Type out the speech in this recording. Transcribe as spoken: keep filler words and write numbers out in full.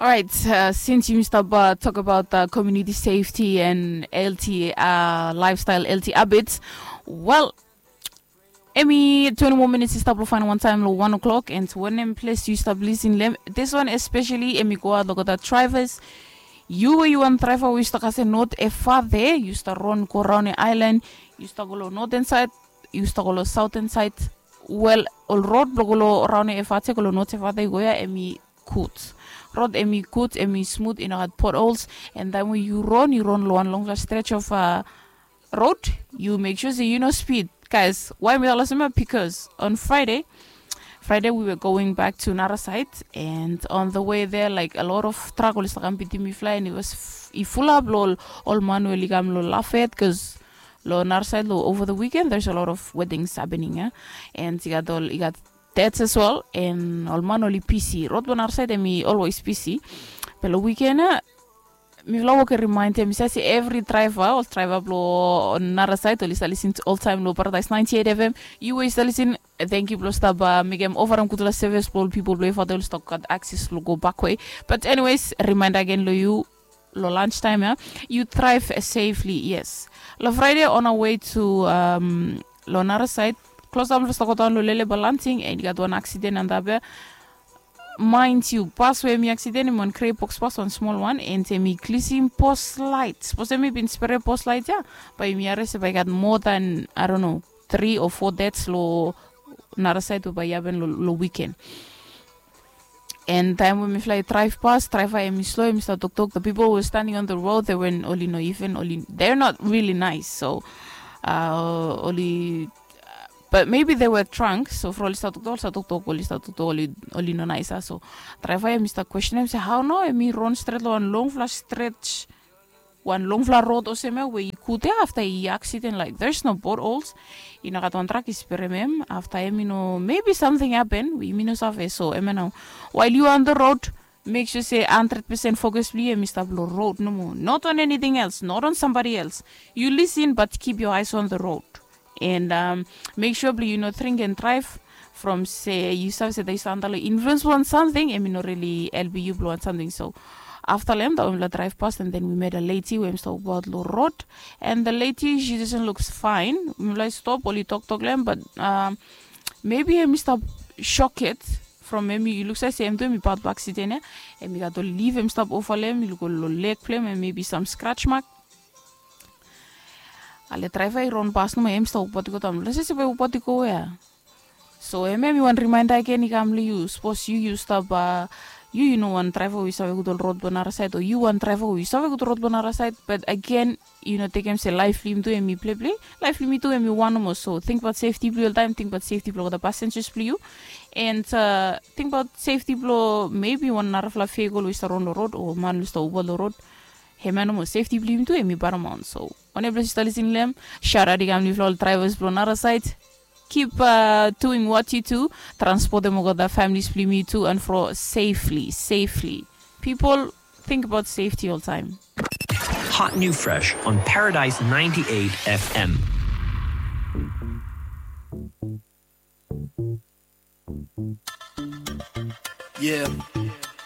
Alright, uh, since yumi stap uh, tok abaot uh, community safety and L T uh, lifestyle L T habits, well, emi twenty more minutes i stap lo fain wan taem lo one o'clock, and wanem ples yu stap lisin lem, this one especially emi go aot lo gota drivers. Yu we yu wan draiva we yu stap kasem not efa de yu stap ron go raon e ailan, yu stap go lo northern side, yu stap go lo southern side. Wel, ol rod blo go lo raon e efa de go lo not efa de go ya emi gud. Rod emi gud, emi smut, i no gat potholes. And taem we yu ron yu ron lo wan longfla stretch of uh, road, yu mek sua se yu no spid. Guys, why mi talk olsem ya? Because on Friday, Friday we were going back to Narasait, and on the way there, like, a lot of truck oli start kam bitim mifala, and it was f- i fulap lo ol, ol man we oli kam lo Lafet, because lo Narasait lo over the weekend there's a lot of weddings happening, yeah? And i gat ol, i gat dates as well, and ol man oli busy. Rod blo Narasait emi always busy. Be lo weekend ya, mifala wok i remind ya, mi save se evri draiva, ol draiva blo Narasait oli stap lisin oltaem lo Paradise ninety-eight F M. Yu we yu stap lisin, tangkiu blo stap uh, mekem ofarem gudfala service blo ol pipol blo efa de oli stap gat access lo go bakwe. But anyways, remind agen lo yu, lo lunch time ya, yu drive safely, yes. Lo Friday on our way to um, lo Narasait, klosap blo stap go daon lo Lele Balanting, and i gat wan accident antap ya. Mind you, bas we emi accident emi wan grey box bas, wan smol wan, and emi glisim post light. Sapos emi bin spere post light ya, bae emi harem se bae i gat more than, I don't know, three or four deaths lo Narasait we bae i hapen lo, lo weekend. And taem we mifala i drive pas, draiva emi slo, emi stap toktok, the people who were standing on the road, they were oli no even, oli, they're not really nice. So uh, oli, but maybe they were drunk. So from oli stap toktok, oli stap toktok, oli stap toktok, oli, oli no nice. So draiva emi stap questionem se hao nao emi ron stret lo wan longfala stretch, wan longfala rod olsem ya we i gud ya afta i accident, like, there's no potholes. I no gat wan truck i sperem hem. Afta emi no, maybe something happen we emi no save. So emi nao, while you are on the road, mek sua se hundred percent focus blo yu emi stap lo road nomo, not on anything else, not on somebody else. Yu lisin, but keep your eyes on the road. And um, mek sua blo yu no drink and drive. From se yu save se taem yu stap antap lo influence blo wan samting, emi no really helpem yu blo wan samting. So afta lo hem, taem mifala drive pas, and then we met a lady we emi stap wokbaot lo road. And the lady, she doesn't look fine. Mifala i stop, oli toktok lo hem, but um, maybe emi stap shocked from emi, i luksave se hem tu emi pat blo accident ya. Emi gat ol lif emi stap ova lo hem, i luk ol leg blo hem, and maybe some scratch mark. Ale draiva i ron pas nomo, emi stap wokbaot i go daon. Lese se bae i wokbaot i go ya. So hemia hemi wan reminder agen i kam long yu. Sapos yu yu stap, yu yu no wan draiva we yu save gud ol rod blong nara saed, o yu wan draiva we yu save gud ol rod blong nara saed, but agen yu no tekem se laef blong yumi tu hemi pleplei. Laef blong yumi tu hemi wan nomo. So tingbaot sefti blong yu oltaem, tingbaot sefti blong olgeta passengers blong yu, and tingbaot sefti blong maybe wan narafala vehicle we yu stap ron long rod o man we yu stap uba long rod. Hemia nomo, sefti blong yumi tu hemi paramount. So wanem ples yu stap lisin long hem, shout out i kam long yufala ol drivers blong nara saed. Keep doing what you do. Transpotem olgeta families blong yumi tu and fro safely, safely. People, think about safety oltaem. Hot new fresh on Paradise ninety-eight F M. Yeah.